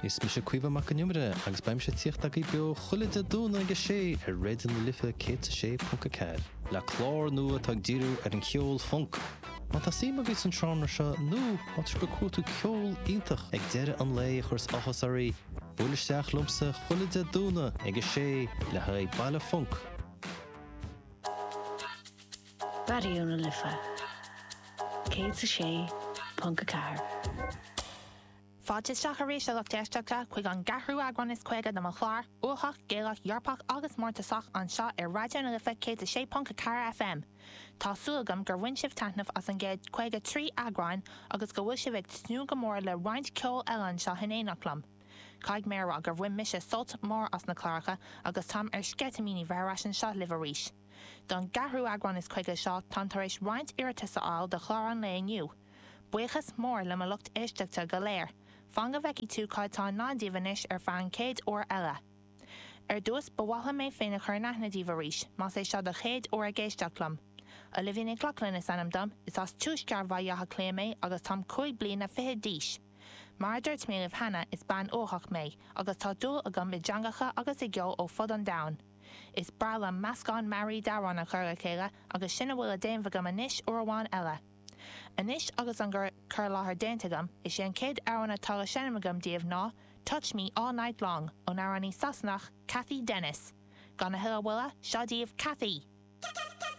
Is mise Caoimhe Mac Con Iomaire agus beidh mise ag tíocht agaibh beo chuile Dé Domhnaigh ag 6 ar Raidió na Life 106.4 le clár nua atá ag díriú ar an cheol func. Má tá suim agaibh san seánra seo nó má tá sibh ag cuartú ceol iontach ag deireadh an lae a chuireas áthas oraibh, buail isteach liomsa chuile Dé Domhnaigh ag 6 le haghaidh Baile Func. Raidió na Life 106.4. Fáilte isteach arís, a lucht éisteachta, chuig an gceathrú eagrán is 50 de mo chlár, Uathach, Gaelach, Eorpach agus Mórtasach, anseo ar Raidió na Life 106.4 FM. Tá súil agam gur bhain sibh taitneamh as an gcéad 53 eagráin agus go bhfuil sibh ag tnúth go mór le roinnt ceoil eile anseo in éineacht liom. Caithfidh mé a rá gur bhain mise sult mór as na cláracha agus táim ar sceitimíní bheith ar ais anseo libh arís. Don gceathrú eagrán is 50 seo, táim tar éis roinnt iarratas a fháil do chlár an lae inniu. Buíochas mór le mo lucht éisteachta go léir. Fan go bhfeicfidh tú cad tá i ndán daoibh anois ar feadh an chéad uair eile. Ar dtús, ba mhaith liom mé féin a chur in aithne daoibh arís, más é seo do chéad uair ag éisteacht liom. Olivia Nic Lochlainn is ainm dom, is as tuaisceart Bhaile Átha Cliath mé agus táim 25 bliana d'aois. Mar a dúirt mé libh cheana, is bean uathach mé, agus tá dúil agam i dteangacha agus i gceol ó fud an domhain. Is breá liom meascán mearaí d'amhráin a chur le chéile agus sin a bhfuil le déanamh agam anois uair amháin eile. Anois agus an cur i láthair déanta agam, is é an chéad amhrán atá le seinm agam daoibh ná Touch Me All Night Long ón amhránaí Sasanach Cathy Dennis. Gan a thuilleadh moille, seo daoibh Cathy!